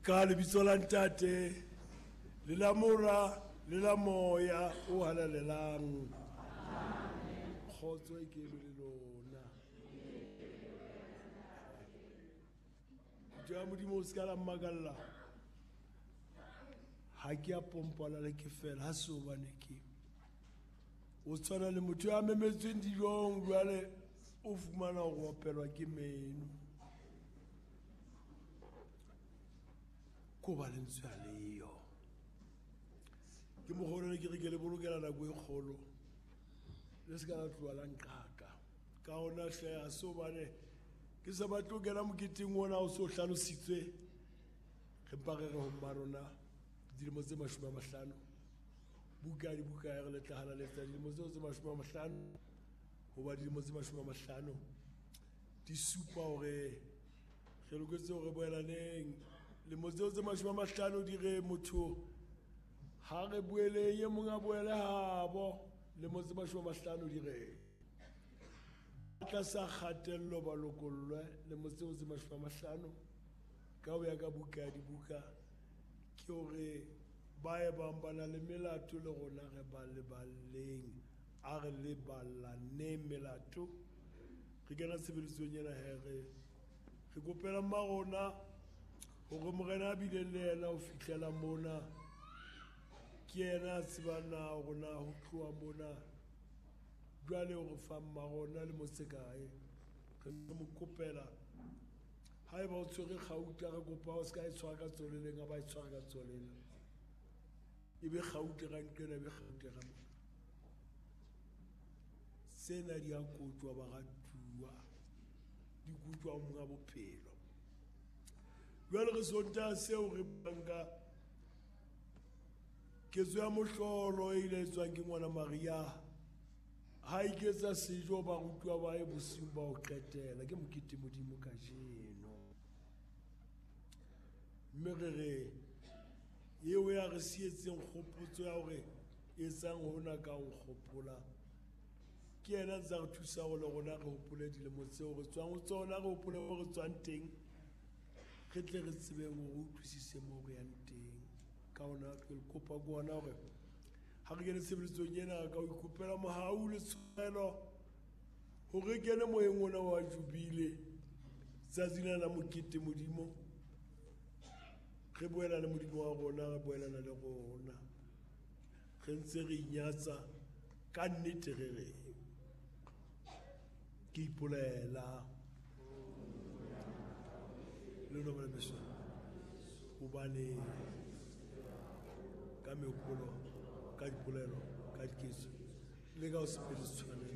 Ka lebitso la Ntate le la Mora le la Moya o halalelang. Kgotso e ke be le lona. Ja Modimo o se ka la mmakalla. Ha ke a pompala le ke fela ha se hobane ke o tshwana le motho ya memetsweng dijong jwale o fumana go opelwa ke meno. Ko ba lentswe a leyo. Ke mogolo ne ke re ke le bolokela nako e kgolo. Le se ka la tloha la nqaka. Ka ona hle ha se hobane ke sa batle ho kena moketeng ona o so hlalositswe. Re mpa re re ho mma rona dilemo tse 50. Buka di buka ya re le tla halaletsa dilemo tseo tse 50. Hoba dilemo tse 50 di supa hore re loketse hore boelaneng. Lemo tseo tse 50 di re motho ha re boeleng e mong a boele habo. Lemo tse 50 di re tlasa kgatello ba lokollwe. Lemo tseo tse 50 ka ho ya ka buka ya dibuka ke hore ba e bang ba na le melato le rona re ba leballeng. A re leballaneng melato. Re kena tshebeletsong ena he re kopela mma rona hore morena a bileng le yena ho fihlela mona. Ke yena a tsebang na hore na ho tloha mona jwale o re fa mma rona le motse kae. Re mo kopela haeba o tshwere kgauta re kopa o se ka e tshwara ka tsoleleng, a ba e tshwara ka tsoleleng. E be kgauta ka nqena, e be kgauta ka mona. Tsena di a kotjwa baratuwa, di kotjwa ho monga bophelo. Jwale re Sontaha seo re buang ka ketso ya mohlolo e ile etswang ke ngwana Maria ha iketsa sejo barutwa ba hae bosiung ba ho qetela. Ke mokete Modimo kajeno. Mme re re eo ya re sietseng kgopotso ya hore etsang hona ka ho nkgopola, ke yena ntse a re thusa hore le rona re hopole dilemo tseo re tswang ho tsona, re hopole mo re tswang teng, re tle re tsebeng hore re utlwisise mo re yang teng. Ka hona ke le kopa ke hona hore ha re kene tshebeletsong ena ka ho ikopela mohau le tshwarelo hore re kene moyeng ona wa jubile tsatsi lena la mokete Modimo. Re boela le Modimo wa rona, re boelana le rona. Re ntse re inyatsa ka nnete re re ke ipolela le lona bana beso, hobane ka mehopolo, ka dipolelo, ka diketso le ka ho se phele tshwanelo.